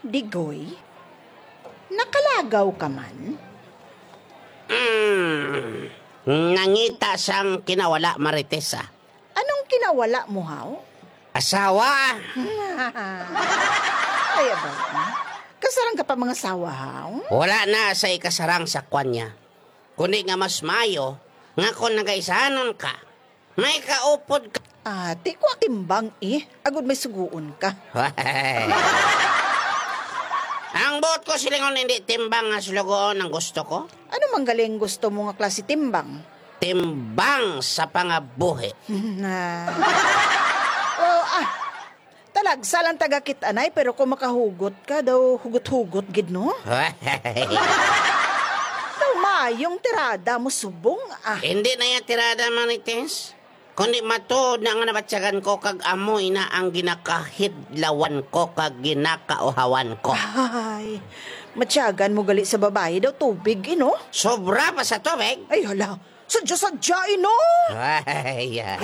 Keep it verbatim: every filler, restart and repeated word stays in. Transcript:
Digoy, nakalagaw ka man? Mm, nangita sang kinawala, Marites, ah. Anong kinawala mo, haw? Asawa. Ay, aba. Kasarang ka pa mga asawa, haw? Wala na sa ikasarang sa kwan niya. Kundi nga mas maayo nga kung nagaisanon ka, may kaupod ka. Ah, ti ko timbang, eh. Agod may suguon ka. Ang buot ko silingon, hindi timbang nga suloguon ang gusto ko. Ano man galing gusto mo nga klase timbang? Timbang sa pangabuhi. Na. Oh, ah. Talagsa lang taga kit-anay, pero kung makahugot ka, daw hugot-hugot gid, no? Daw mayong tirada mo subong, ah. Hindi na ya tirada, Marites. Kundi matuod na nga nabatyagan ko kag amoy na ang ginakahidlawan ko kag ginakauhawan ko. Ay, matyagan mo gali sa babayi daw tubig, eh, no? Sobra pa sa tubig? Ay, hala. Sadya-sadya, eh, no? Ay, ah.